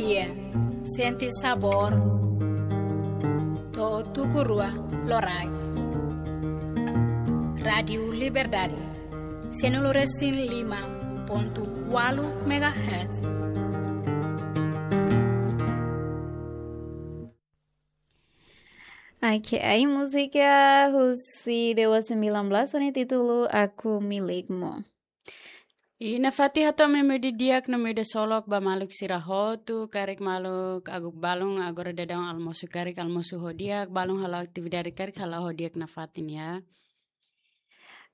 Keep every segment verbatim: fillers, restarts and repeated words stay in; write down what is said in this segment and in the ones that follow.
Sente sabór. To'o tuku rua loraik. Rádiu Liberdade. Sianulu resin lima pontu ualu megahertz. Oke, ai múzika husi Dewa sembilan belas ho nia títulu Aku Milikmu. I nafatin hato'o ami imi ida di'ak no imi ida solok ba maluk sira hotu, karik maluk aguk balun agora daudaun almosu, karik almosu ho di'ak, balun halo atividade karik halo ho di'ak nafatin ya.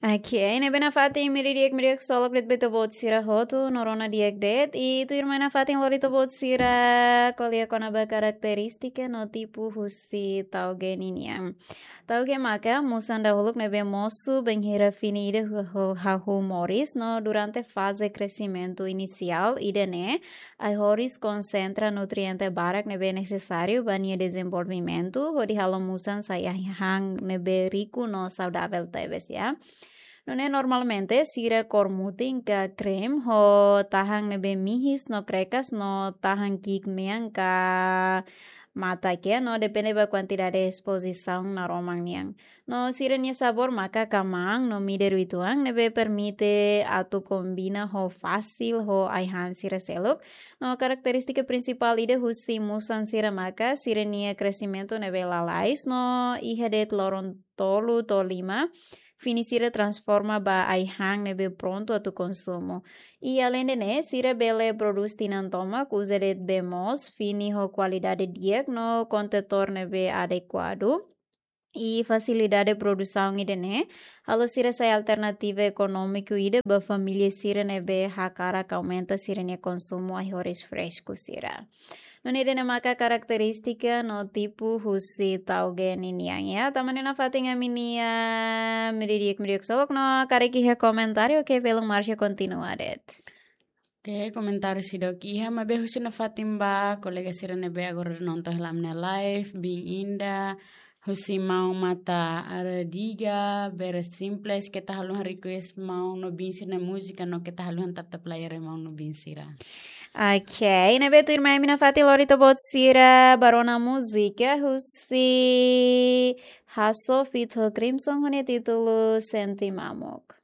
Oke, ne'ebé nafatin imi ida di'ak, imi ida di'ak solok de'it ba ita-boot sira hotu, no rona di'ak de'it, i tuirmai nafatin lori ita-boot sira ko'alia kona-ba karakterístika no tipu husi tauge ninian. Tauge maka musan dahuluk ne'ebé mosu bainhira fini ida hu-, hu-, hahú moris no durante faze kresimentu inisiál ida-ne'e, ai-horis konsentra nutriente barak ne'ebé nesesáriu ba nia dezenvolvimentu, hodi halo musan sai ai-han ne'ebé riku no saudavel tebes ya. Nune'e normalmente sira kór mutin ka krem ho tahan ne'ebé mihis no krekas no tahan ki'ik mean ka matak ya no depende ba kuantidade espozisaun naroman nian. No sira-nia sabór maka kamaan no midar uitoan ne'ebé permite atu kombina ho fasil ho ai-han sira seluk. No karakterístika prinsipál ida husi musan sira maka sira-nia kresimentu ne'ebé lalais no iha de'it loron tolu to'o lima fini sira transforma ba ai-han ne'ebé prontu atu konsumu. I aleinde ne'e, sira bele prodús tinan tomak uza de'it bee moos, fini ho kualidade di'ak no kontetór ne'ebé adekuadu. I fasilidade produsaun ida-ne'e halo sira sai alternativa ekonómiku ida ba família sira ne'ebé hakarak aumenta sira-nia konsumu ai-horis fresku sira. Nune'e ida-ne'e maka karakterístika no tipu husi tauge ninian ya. Tanba ne'e nafatin ami-nia imi ida di'ak, imi ida di'ak solok no karik iha komentáriu, oke, belun Marcia kontinua de'it. Oke, komentáriu seidauk iha, maibé husu nafatin ba kolega sira ne'ebé agora nonton hela ami-nia live, bin inda, husi maun Mata Aradiga, Bere Simples, keta haluha request maun no bin sira-nia múzika no keta haluha tap-tap layar maun no bin sira. Oke, ne'ebé tuirmai ami nafatin lori ita-boot sira ba rona múzika husi Hasso feat Crimson ho nia títulu Sente Mamuk.